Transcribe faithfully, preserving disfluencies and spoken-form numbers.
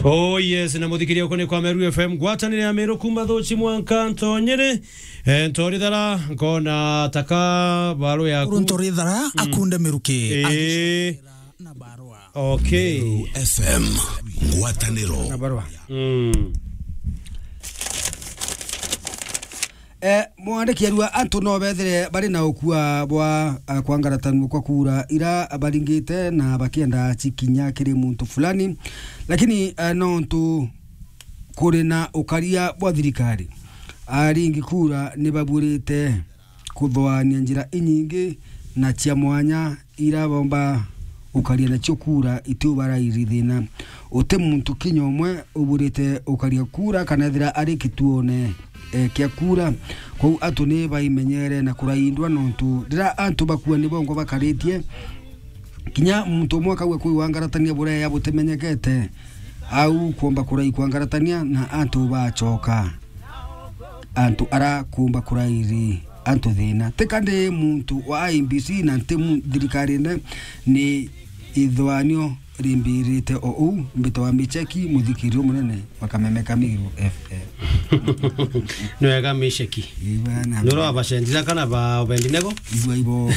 Oh yes, na muthikiria uko ni kwa Meru F M, ngwatanire ya Meru kuma Thuchi mwanka Ntonyere. Eh, ntorithara, nkona taka baru yaku. Uru ntorithara, akunde miruki. Eh. Agicokera na barua. Okay. Meru F M, ngwataniro. Na barua. Mm. Eh, mwandiki arua antu no bethire bari na ukua bwa, eh, kwangaratanua kwa kura ira baringite na bakienda cikinya kiri muntu fulani. Lakini, eh, nontu kuri na ukaria bwa thirikari, aringi kura ni baburite kuthoania njira inyingi na cia mwanya ira bomba ukaria nacio kura itu barairi thina. Uti muntu kinya umwe uburite ukaria kura kana ethira ari kituone, eh, kia kura. Kwou antu ni baimenyere na kuraindwa nontu rira antu bakua ni bongo bakaritie, kinya muntu umwe akauga kwi wangaratania bureya butimenyekete, au kuomba kurai kwangaratania na antu bacoka. Antu ara kuumba kurairi antu thina. Tika ndi muntu wa I E B C na nti mu-, thirikarine, ni ithuanio rimbirite o uu. Mbitagwa Micheki, muthikirio munene wa Kameme ka Meru F M. Ni wega Micheki. Ii bana. Nurwa bacenjira kana ba Obedinego? Igua ibo.